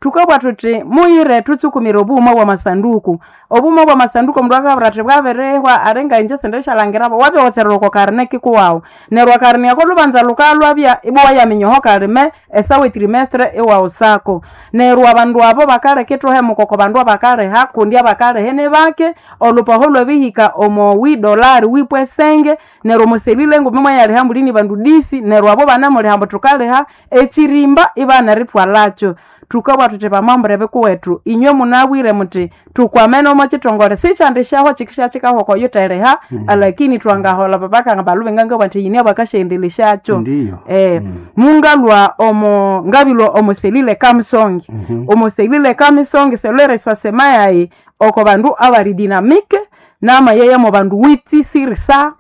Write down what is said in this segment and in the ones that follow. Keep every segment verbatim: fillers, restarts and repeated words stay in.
Tukabwa tuti muyire tutsukumira obuhuma bwa masanduku. Obuhuma bwa masanduku omundu akabwira athi bwabirihwa aringa inje sindishalangirabo, wabiwotserera oko karine kikuwawu. Neryo akarine ako lubanza lukalwabya ibwa wayaminya oho kalime esawa etrimestre iwawusako. Neryo abandu abo bakaleka ithuhemuka oko bandu abakaliha kundi abakaliha nibake, olupaho lwabihika omo wi dolari wipwa esenge, neryo omuselile enguma mwayaliha mulini bandu disi, neryo abo banemuliha ambu thukaliha ekirimba ibanarithwalakyo. Thukabugha thuthi bamambure bikuwethu inywe munabwire muthi thukwamene omo kithongole sikyandisyaho kikisya kikahwa okoyutheriha, alakini thwangaholha papakanga balube ngangabugha nthi yine bakasyaendelesyacho. Ndiyo. Eh, Mm. mungalwa omo ngabilwa omo selile kamisongi. Mhm. Omo selile kamisongi selere sasema yayi oko bandu abali dynamique namayeye mo bandu witi sur cent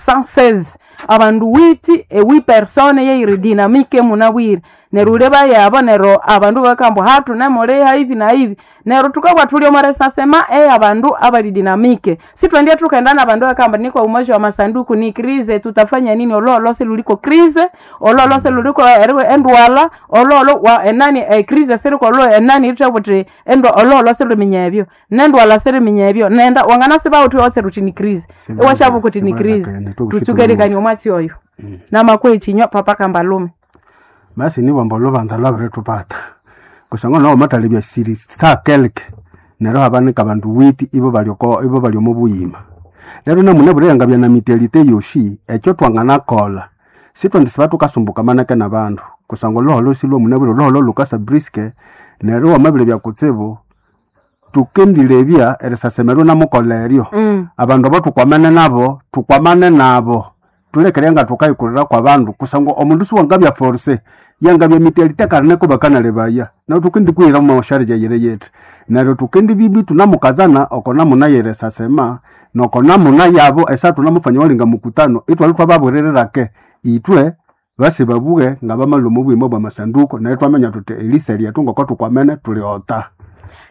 cent seize. Abandu witi ewi personne yeyiri dynamique munabwire. Neryo uleba yabo neryo abandu bakamba hatu nemuliha hivi na hivi. Neryo tukabugha thuli omo recensement eyabandu abali dynamique. Sithwendye thukaghenda nabandu bakamba niko umoja wa masanduku ni crise tutafanya nini ololo siluliko crise, ololo siluliko eriwe endwala, ololo wa enani e crise siriko olo enani ithabuthi endo ololo siluminya ebyo. Nendwala siriminya ebyo. Nenda wanganasiba uthi otse ruthi ni crise. Sibaza- Ewashabu kuti ni sibaza crise. kene, tukushitumu. Tutsukerikania omwatsi oyo. Mm. Namakwe ekinywa papa kambalume. Basi nibwamba olubanza lwabirithubatha kusangwa nawo matalebya siri sakeleke neryo habanika abandu witi ibo bali oko ibo bali omo buyima. Lero namune yangabya na mitelite yoshi ekyo twanganakolha sithwendisiba thukasumbuka manake nabandu kusangwa olhuholho silwomunabwire olhuholho lukasa briske neryo wamabiribya kutsibu tukendilebya erisasemerwa namukolha eryo. Mm. Abandu abo thukwamene nabo thukwamane nabo tulekere nga thukayikurira kwa bandu kusangwa omundu siwangabya force yangabya mitelite karine bakanalebaya neryo thukendikuhira mumawasharija yire yethu neryo thukendibibi thunamukazana oko namuna yerisasema noko namuna yabo esa thunamufanya walinga mukutano ithwalwe thwababwirirake ithwe basi babughe ngabamalwa omu buyima bwa masanduku neryo thwaminya thuthi elisa lyethu ngoko thukwamene thulighota.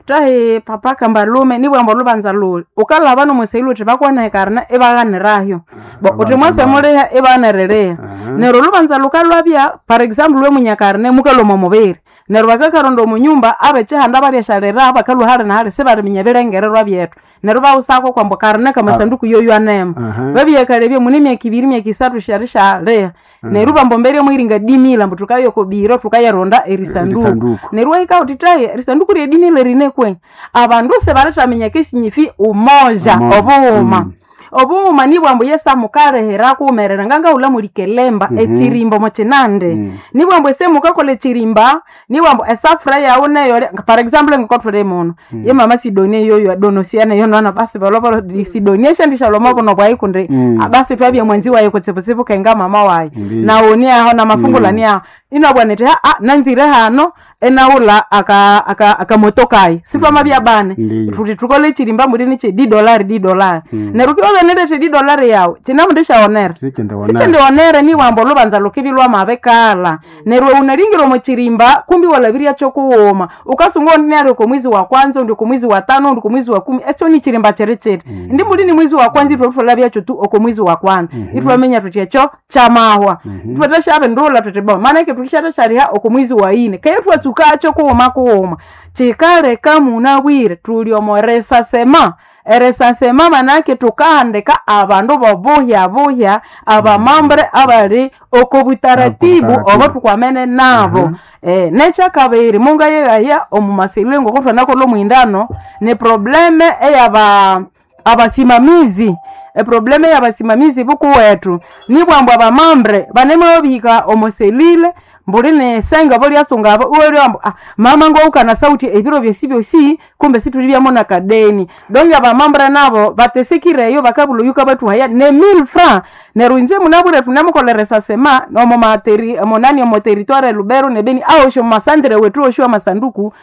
Tahi papa kambalume nibwamba olubanza luli ukalhaba nomuseilo uthi bakwana ekarina ibaghanirahyo bo uthi mwase muliha ibaniririha. Neryo olubanza lukalwabya par example lwemunyakarine mukalhwa omo mubiri neryo bakakaronda omunyumba abekihanda balyashalira bakalhwa hali na hali sibaliminya ebirengererwa byethu neryo bawusako kwambu karine kamasanduku yoywanemo. Babyakalebya mune emyaka ibiri emyaka isathu syarishaliha neryo bambu embere mwiringa dimila ambu thukaya okobiro thukayaronda erisanduku. Erisanduku. Neryo wahika wuthi tahi erisanduku ryedimila rine kwe abandu sibalithaminya kesinyifi umoja Umoja. obughuma. Mm. Obughuma nibwambu Yesu amukalihira kuwumerera ngangahulha mulikelемba Mhm. ekirimba omo kinande. Mm. Nibwambu ese mukakolha ekirimba nibwambu esafura yawu neyo par example ngokothuli muno ye mama Sidonia yoyo adonosiana yono basi bolobolo Sidonia shandishalwa omo bwayi kundi Mm. basi twabya mwanzi wayi kutsibutsibu kenga mama wayi Ndiyo. nawoni aho namafungula Mm. ni aho inabwa niti ha nanzire hano enawula aka aka akamotokayi sitwamabya bane Ndiyo. thuthi thukole ekirimba mulini kye di dolari di dolari Mm. neryo wukibya nerete di dolari yawu kinamundisyawonera Sikyendewonera. sikyendewonere niwamba olubanza lukibi lwamabikalha neryo wunalingira omo kirimba kumbi walabirya kyokughuma ukasunga undi nali oko mwezi wa kwanza undi oko mwezi wa tano undi oko mwezi wa kumi esyo ni kirimba kiri kiti Mm. ndi mulini mwezi wa kwanza ithwe thwalabyacho tu oko mwezi wa kwanza Mhm. ithwaminya thuthi ekyo kyamahwa Mhm. ithwe thwashabindulha thuthi bo manake thukisyathashyaliha oko mwezi wa ine keye thwatsukakyo kughuma kughuma kikaleka munabwire thuli omo recensement. Erecensement manake thukahandika abandu bobuhya buhya abamambre abali oko butaratibu Oko butaratibu. obo thukwamene nabo. Mhm. Eh, nekyakabiri mungayeghaya omu maselile ngoko thwanakolha omwindano ni probleme eyaba abasimamizi eprobleme eyabasimamizi bukuwethu nibwambu abamambre banemabihika omo selile mbuli nesenge bolyasunga abo iwalya ah, mama ngowukana sauti ebiro byosi byosi kumbe situlibyamo nakadeni donge abamambre nabo batesekireyo bakabulha oyuka bathuhaya ne mille francs neryo inje munabwire thunemukolha recensement omo materi omo nani omo territoire Lubero ne Beni awosi omu masandire wethu wosi amasanduku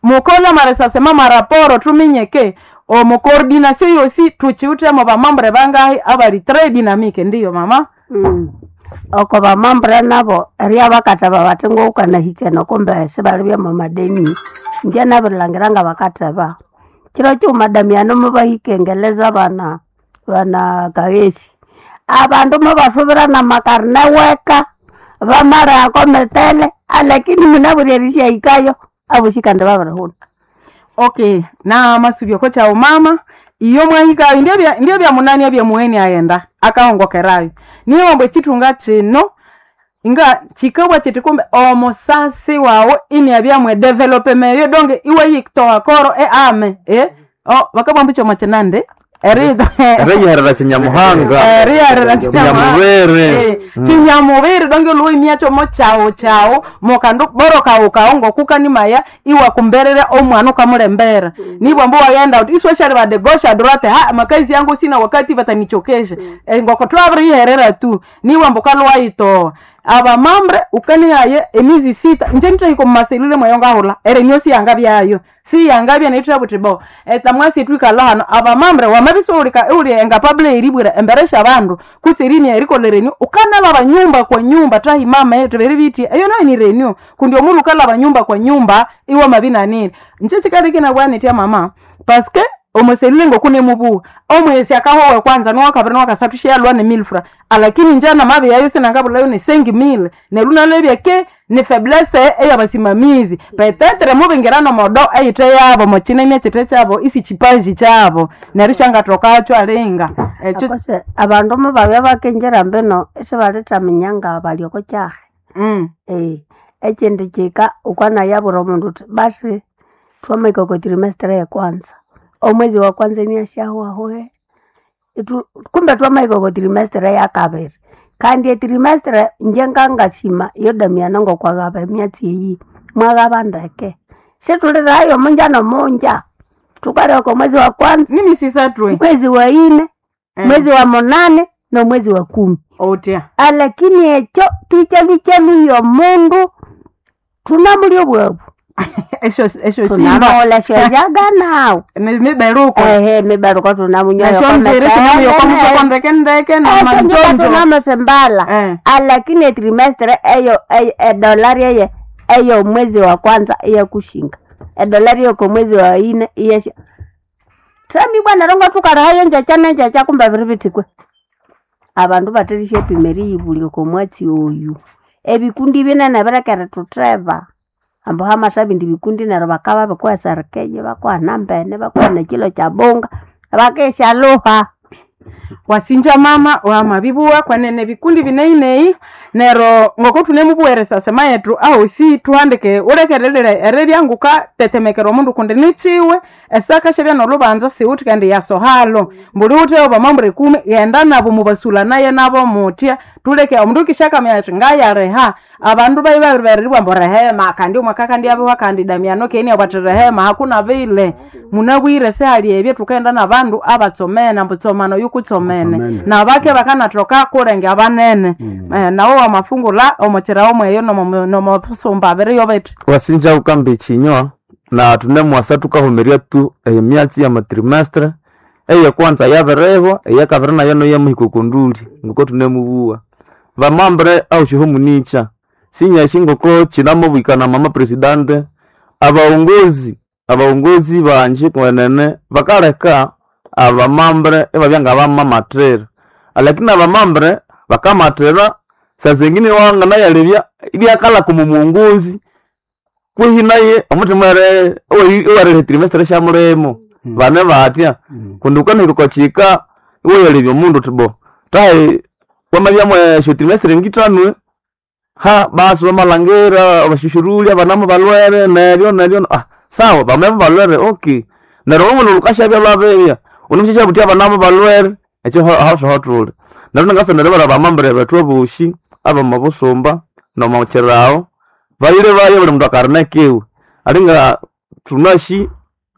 mukolha amarecensement maraporo thuminyeke omu coordination yosi thukiwithemo bamambre bangahi abali très dynamique ndiyo mama. Mm. Oko bamambre nabo eria bakatheba bathi ngoukanahikene kumbe sibalibya mwamadeni inje nabirilhangira ngabakatheba kiro kighuma Damiano mubahika bana bana Kaghesi abandu mubasubirana amakarine weka bamalihako mitele alakini munabwire erisyahikayo Aboshi kandi babirihuna. Okay, na masubyo kocha umama iyo mwahika ndio bya ndio bya munani ebya muheni aenda akahongokerayo niyo mbwe chitunga chino inga chikabwa chiti kumbe omusasi wawe ini abyamwe development yo donge iwe yiktoa koro e ame e o bakabwamba icho machinande eri Eriyiherera kinyamuhanga eriyarira kinyamubiri chinyamubiri donge luwe imyacho mo chawo chawo mokandu boro kawo ngokukanimaya iwa kumberera omwana ukamulembera nibwa mbu wayenda uti isweshali bade gosha durate ha makazi yangu sina wakati batanichokesha e, ngoko twabiriherera tu nibwa mbu kalwaitoa abamambre ukanihaye emizi sita nje nitahiko mumaselule mweyo ngahula ere niyo siyanga byayo siyanga bya naitira buti bo etamwasi twikala hano abamambre wamabisoulika uli engapable eribwira emberesha abandu kutse rimya erikolereni ukanalaba nyumba kwa nyumba tahi mama yetu beri biti eyo nayo ni renyu kundi omulu ukalaba nyumba kwa nyumba iwe mabinanini nche chikali bwanetya mama paske omuselule ngokune mubuwa omwesi akahowe kwanza nowakabiri nowakasathu sheyalwa ne milfra alakini njana mabi yayo sinangabulayo ne sengi mile nelunalebya ke ni faiblesse eyabasimamizi petetre mubingirano modo eyite yabo mochine chite chabo isi chipaji chabo neryo shangathokacho alinga ekyo Akose abandu mubabya bakenjera mbino isibalithaminya nga bali oko kyahi. mm. Eh, ekindi kika ukanayabura omundu uthi basi twamahika oko trimestre yekwanza omwezi wa kwanza iniasyahwahoe Itu- kumbe twamahika oko trimestre yakabiri kandi etrimestre inje ngangasima yodamiana ngokwagaba emyatsi eyi mwaghaba ndeke situlirayo munja nomunja tukalya oko mwezi wa kwanza nini sisatwe mwezi wa ine Eh. mwezi wa munane nomwezi wa kumi otya alakini ekyo twichalwichaluya omundu tunamulya obwabu esyo esyo simba tunamola syajaga nawu miberuko ehe mibaruko tunamunyoyo esyo nziri sinamuyokomutsoko ndeke ndeke namanjonjo tunamasimbala Eh. alakini etrimestre eyo eyo- edolari eye eyo mwezi wa kwanza iyakushinga edolari yoko mwezi wa ine iyesha tami bwana rongo tukarahayo njacha nenjacha kumbe biri bitikwe abandu baterisha epima eriyibulya oko mwatsi oyu ebikundi binene birekere tutheba ambu hamasa bindi bikundi neryo bakaba bikuheserikenye bakuhana mbene bakuhana ekilo kya bunga bakisyaluha wasinja mama wamabibuwa kwanene bikundi bineinei nero ngoko tunemubuweresa sema yetu ahosi tuhandike ulekerelele eribyanguka tetemekera omundu kundi nichiwe esakashabya nolubanza siwuthi kandi yasohalo mbuli wutheyo bamambure kumi yenda nabo mubasula naye nabo mutya tuleke omundu kishakamya ati ngayariha abandu bayi babiribereribwa mbu rehema kandi omwaka kandi abiwa kandi damiano keni abwati rehema hakuna vile munabwire sehali ebyo tukaenda nabandu abatsomene ambu tsomano yukutsomene Tsomene. nabake bakanathoka kulenge abanene Mm. eh, nawo wamafungula omochera omweyo nomosumba abiriyo bithi wasinja ukamba echinywa na tunemwasa tukahumirya tu emyatsi ya matrimestre eyekwanza yabirihwa eyakabiri nayo noyemuhika okonduli ngoko tunemubuwa vamambre aushiho municha sinyashi ngoko chinamubwikana mama presidente abaongozi abaongozi banje kwenene bakaleka abamambre ibabya ngabamamatira lakini abamambre bakamatira sazengine wanganayalebya ibyakala kumumunguzi kwihi naye omuthima ere owerere trimestre syamulimo Mm. bane batya Mm. kundi ukanahika kwachika iweyalebya omundu uthi bo tahi wamabyamwe esyo trimestre ngithanwe ha basi bamalhangira abashushuruli abanamu balwere neryo neryo ah sawa bamabya balwere okay neryo omulhu lhukasyabya lwabibya unamusyasya buthi abanamu balwere ekyo hawusohothuli neryo nangasonere bara bamambere bethu abosi abamabusumba nomukyirawo bayire bayo buli mundu akarina kiwe alinga thunashi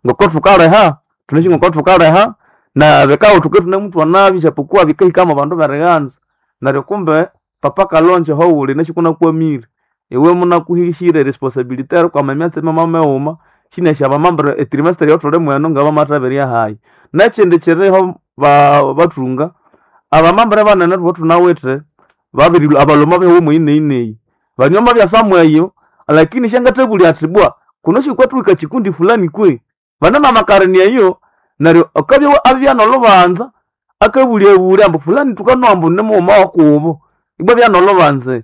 ngoko thukaleha thunashi ngoko thukaleha na bikawo thuke thunemuthwa nabi japokuwa bikahikamo abandu berighanza neryo kumbe papa kalonje howuli nashi kunakwamire iwe munakuhishire responsibility erikwama emyatsi mama shinasha abamambere etrimester yothuli mweno ngabamathaberya hayi nekindi kiriho ba- bathunga abamambere banene thubo thunawithe babiri abaloma behu mwineineyi banyoma byasamweyo lakini shangathabulya athi bwa kuno shikwathuika chikundi fulani kwe bana mamakarani eyo neryo akabya abya nolubanza akabulyabulya ambu fulani tukanoa ambu nimughuma wakubo ibwa byanolubanza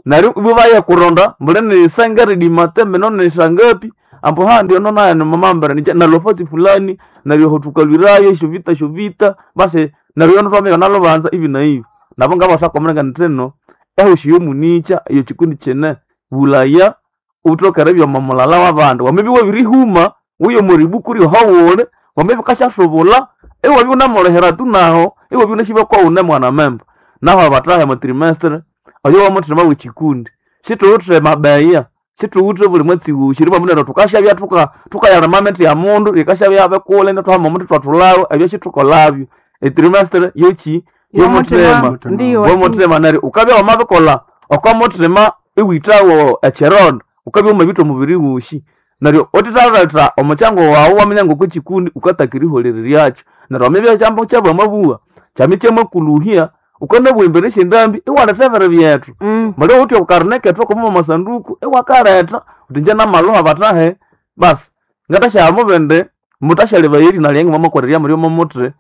neryo ibwa baya kuronda mbuli ni sengere dimate mino ni sangapi Ambo ha ndio nona ni mamambere ni na lofasi fulani naryo hotukalwirayo shovita shovita basi naryo notwameka nalobanza ivi na ivi nabo ngabashakomereka nteno ehoshiyo municha iyo chikundi chene bulaya utokere byoma mulala w'abandu wamebi wabirihuma uyo muribu kuri hawole wamebi kashashobula ewabi unamolehera tu naho ewabi unashiba kwa une mwana memba naho abatahe mu trimestre oyo wamuthema w'echikundi situwuthe mabeya situwuthe buli mwetsi wushi riba munene tukashabya tuka tukayala mamete ya mundu ikashabya bekule netwahama omuthi twatulawo ebyo situkolabyo etrimestre yochi yomuthema Ndiyo. womuthema neryo ukabya wamabikola okomuthema iwithawo echironda ukabya wamabitha omubiri wushi neryo utithaletha omukyango wawu waminya ngokukikundi ukatakira iholereryakyo neryo wamibya ekyambo kyabamabuwa kyami kyamakuluhya ukanabwembere esyendambi iwaletha ebiri byethu Mm. mali uthi okarine kethu okomo masanduku iwakaletha uthi nje namaluha batahe basi ngatashamubende mutashaleba erina lyange mwamakolerya muri omomuthi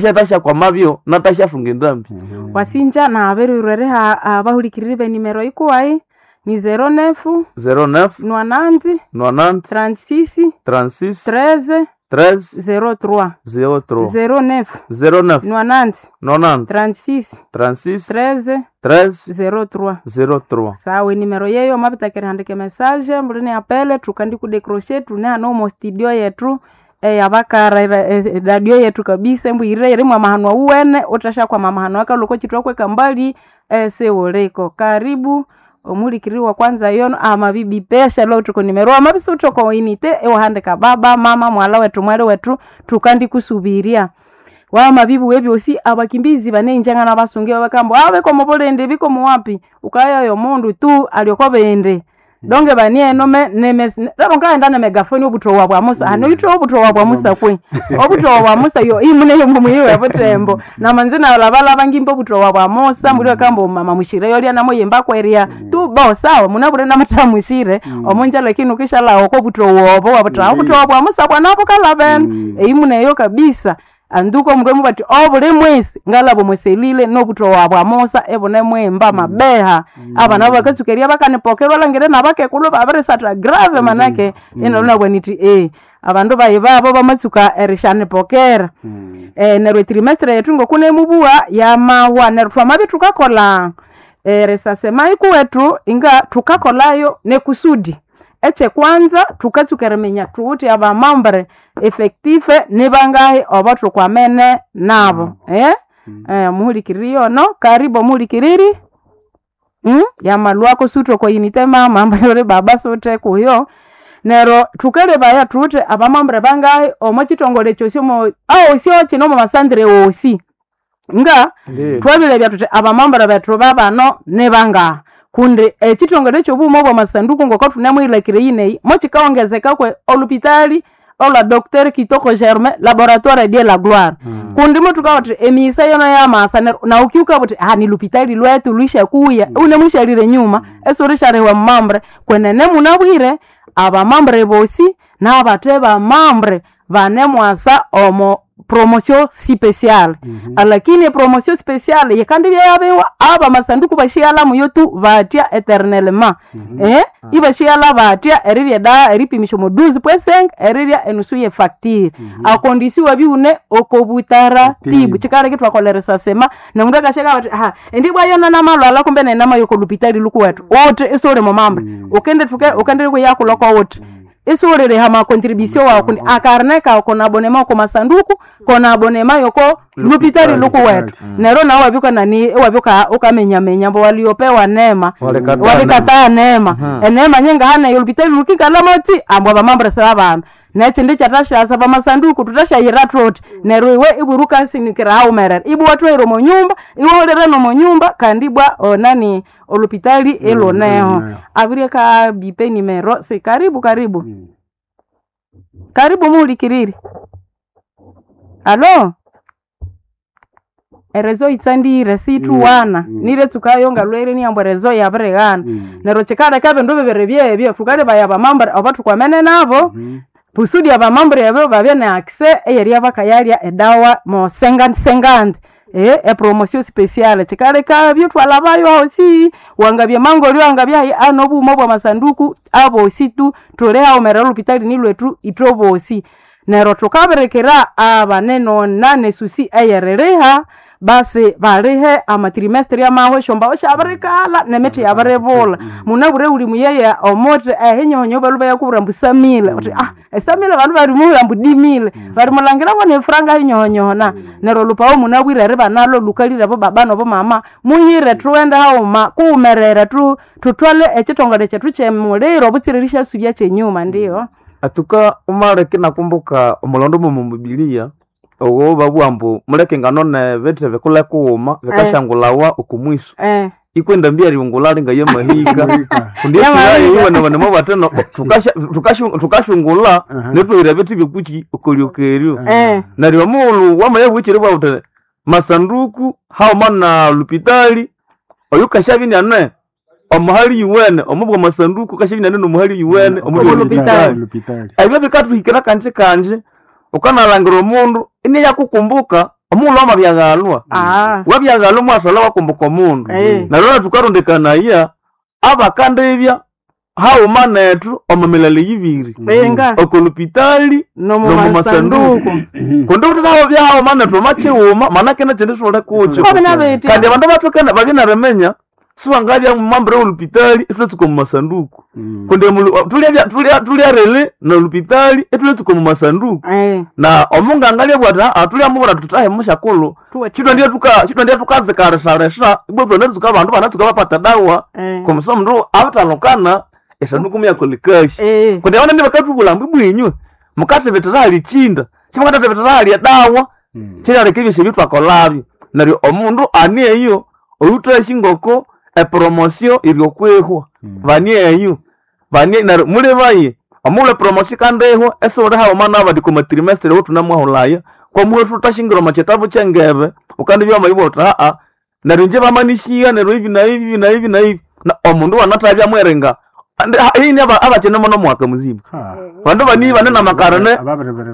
ngashatashakwamabyo natashafunga endambi Wasinja na aberirwere ha abahulikiriri benimero ikuwai ni zero nefu zero neuf nwananzi nonante trente-six trente-six treize treize zero trois zero trois zero neuf zero neuf nwananzi nonante trente-six trente-six treize treize zero trois zero trois sawa enimero yeyo mapitakere handike message mbulini apele tukandi kudecroche tune hano omo studio yetu eyabakara radio yetu kabisa embwirire yerimwa mahano uwene utasha kwa mamahano akaloko chitwakweka mbali esiuliko karibu omulikiri wa kwanza yono amabibi pesha lo tuko nimero amabisi utoko inite ewahandika baba mama mwala wetu mwali wetu tukandi kusubiria wamabibu webyosi abakimbizi banenjanga nabasungi bakambo abe komobolende biko muwapi ukaya yo mundu tu alioko bende donge banie nome neme rabo ngaenda na megafoni obutowa bwa Musa mm. ano yitro obutowa bwa Musa kwe obutowa bwa Musa yo imune yo mumuyiwe butembo na manzina labalaba ngimba obutowa bwa Musa muri kambo mama mushire yolya namo yemba kweria tu bo sawa munabure namata mushire mm. omunja lakini ukishala oko butowa obo wabutowa obutowa bwa Musa bwanapo kalaben mm. eimune yo kabisa anduko mndu mubati obuli mwesi ngalabo mweselile nobutowa bwa Musa ebone mwemba mabeha abana bakatsukeria bakanipokerwa langire nabakekulu babirisatha grave manake mm. inalunabwaniti eh abandu bayi babo bamatsuka erishanipokera eh, neryo etrimestre yetu ngokunemubuwa yamahwa neryo twamabi tukakola eh, resasema ikuwetu inga tukakolayo nekusudi ekyekwanza tukatsuka eriminya thuwithe abamambre effective nibangahi obo thukwamene nabo eh? Eh, muhulikiriri yono karibu omuhulikiriri mm? yamalwako suthoko inite mama ambaye baba suthe kuyo nero thukalebaya thuwithe abamambre bangahi omo chitongole kyosi omo awosi kino omo masandire wosi nga twabilebya thuthi abamambura bethu babano nibangaha kundi ekitongole ekyobughuma obwamasanduku ngoko thunemwilakire yineyi mokikawongezeka kwe olupitali olwa Docteur Kitoko Germain laboratoire de la gloire mm. kundi mutuka uti emisa yono yamasa ner- na ukiuka buti ah ni lupitali lwetu lwishakuya mm. une mwishalire nyuma mm. esurishariwe mumambre kwenene munabwire abamambre bosi n'abathe bamambre banemwasa omo promotion spéciale mm -hmm. lakini promotion spéciale yikandi byayabiwa aba masanduku bashiyala muyo tu batya eternellement mm -hmm. eh ibashiyala batya erirya da eripimisha mu douze point cinq erirya enusu ye facture mm -hmm. akondisiwa biune okobutaratibu chikaleke twakoleresa sema nomundu akasheka bati ha endi bwayona namalwala kumbe nenama yokolupitali lukuwetu uti isuli mumambre mm. ukende tuke ukende kuyakuloko uti isuulile hama contribution wawo kundi akarne kawo kona abonema oko masanduku kona abonema yoko lupitali lukuwetu nero nawo wabyuka nani wabyuka ukamenyamenya mbo waliopewa neema Walikataa walikataa neema eneema nyenga hana yolupitali lukikalamoti ambwa bamambre seba nechindi chatashasa pamasanduku tutashayira troti neryo iwe ibwiruka haumerera ibwa watwaire omunyumba iwe ulire nomunyumba kandi ibwa onani olupitali iluneho iluneho. abirie ka bipe nimero si karibu karibu karibu muhulikiriri alo erezo itsandire situwana Mm, mm. nire tsukayonga lwere niyambo erezo yabirighana Mm. neryo chikaleka ebindu bibiri byebyo thukalebaya abamambure oba thukwamene nabo kusudi abamambure abo babye ne access eyerya bakayalya edawa mo sengandi sengandi e epromotion spéciale chikaleka byo twalabayo ahosi wangabya mangolyo wangabya ano bumo bwa masanduku abosi tu tuli haumera lupitali ni lwetu itobosi nero tukaberekera abaneno nane susi eyereriha basi balihe amatrimestre amaho shomba oshabirikala nemithi yabiribula munabure uli muyeye omuthi ehinyonyo balu bayakubwira mbu samile uthi ah esamile bandu balimuwira mbu dimile balimulangira ngo nefuranga hinyonyohona neryo lupawo munabwire eriba nalo lukalire abo baba nobo mama muyire thughende haghuma kuwumerere tu thuthwale ekithongole kyethu kyemuliro obutsiririsha subya kyenyuma ndiyo Atuka umaleke nakumbuka omulondo momo mubilia owo babugha ambu muleke ngano nebithi bikule kughuma bikashangulawa oku mwiso eh. ikwenda mbi eriungula linga yamahika kundi Yamahika. iwenewene tukashungula Aha. netwahira ebithi byekuki okolyokeryo Eh. neryo omughulhu wamaya bwikiri bwawuthi masanduku haghuma na lupitali oyu kashabya iniane omuhali yuwene omu bwa masanduku kashabya iniane nomuhali yuwene omu bwa Lupitali. lupitali lupitali ebyo bikathuhikira kanji kanji ukanalhangira omundu iniyakukumbuka omughulhu wamabyaghalwa Ah. wabyaghalwa mwathalha wakumbuka omundu Eh. neryo nathukarundikanaya abakandibya haghuma nethu omu milala yibiri Benga okolupitali nomumasanduku kundi kuti nabo byahaghuma nethu omakighuma manake nekyindi sithuli kukyo Kobe nabetya. kandi abandu bathukene babye neriminya siwangabya mumambire wolupitali ithulatsuka omu masanduku kundi omulu- tulya- tulya- tulyarili nolupitali ithulatsuka omu masanduku Eh. na omunganga lyabwa ati "Ah, tulyamubwira tuti mushakulhu Tuwe- chitwandya tukazikarisharisha ibwa twanatsuka abandu banatsuka bapata dawa Eh. kumusa omundu abitalukana esanduku muyakolekashi Eh. kundi abanene bakatubulha ambu ibwinywe mukathibitira hali chinda chimukathathibitira hali edawa kyerialeka ebyosyo ebitwakolabyo neryo omundu ani eyo oyuthasi ngoko epromosio iri okwihwa bani eyo bani neryo mulibaye omughulhu epromosio ikandihwa esiwuli haghuma nabandi koma trimestre owuthunamwahulaya kwamuhe thuthashingira omo kitabu kyengebe ukandibya wamabibugha wuthi aa neryo inje bamanisiya neryo ibi na ibi na ibi na ibi na omundu wanathabya mweringa ini abakyinemo nomwaka muzima bandu bani bane namakarane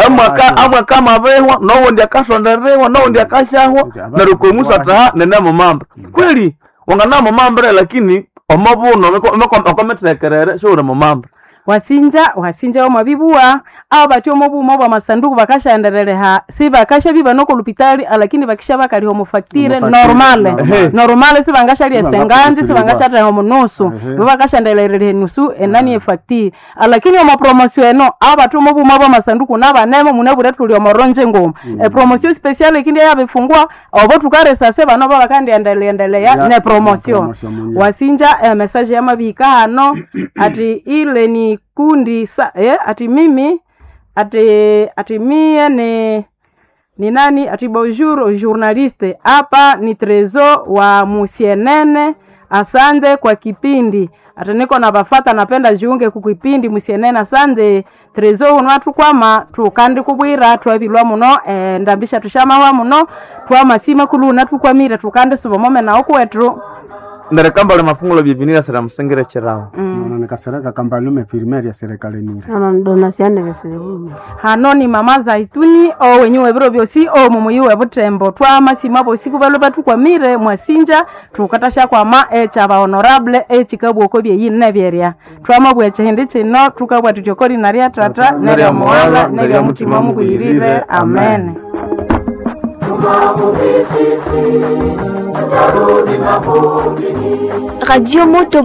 amwaka amwaka amabihwa nowundi akasonderewa nowundi akashahwa neryo komusa ati nene mumambre kweli wangana mumambre lakini omobuno okomithekerere siwuli mumambre wasinja wasinja wamabibua abo batya omo bwa masanduku bakashaendeleleha si bakasha noko lupitali alakini bakisha bakaliha omufactire Omufactire, normale normale. normale sibangashalya esenganzi Sibangakusilibwa. sibangashatheha omunusu Ehe. bo bakashaendeleleha enusu enani efactire alakini omo promosio eno abo batya omo buma bwa masanduku nabanemo munabwire thuli omoronje ngoma epromosio special ikindi yabifungua obo tukaresase bano babakandiendeleendelea Ya, ne promosio promotion munye. wasinja eh, message yamabika hano ati ile ni kundi sa, eh, ati mimi ati ati mie ni ni nani ati bonjour journaliste hapa ni Trezo wa Musienene asante kwa kipindi ati niko na bafata napenda jiunge kukipindi Musienene asante Trezo uno atukwama tukandi kubwira twabilwa muno eh, ndambisha tushamawa muno twamasima kuluna tukwamire tukandi subomome nawo kwetu neryo kambale mafungulo byevinira sira musingire kirawo mm. nikasereka kambalume firmeri ya serikali mire Nono donasiane besibu. hano ni mama zaituni owenyu webiro byosi omumuyi webutembo twamasima bosi kubalu batukwamire mwasinja tukatasha kwama ekyaba honorable ekikabwoko byeyine byerya twamabwa ekihindi kino tukabwa tuti okolina lya tata nerya muwala nerya mutima mubwirire amen Radio Moto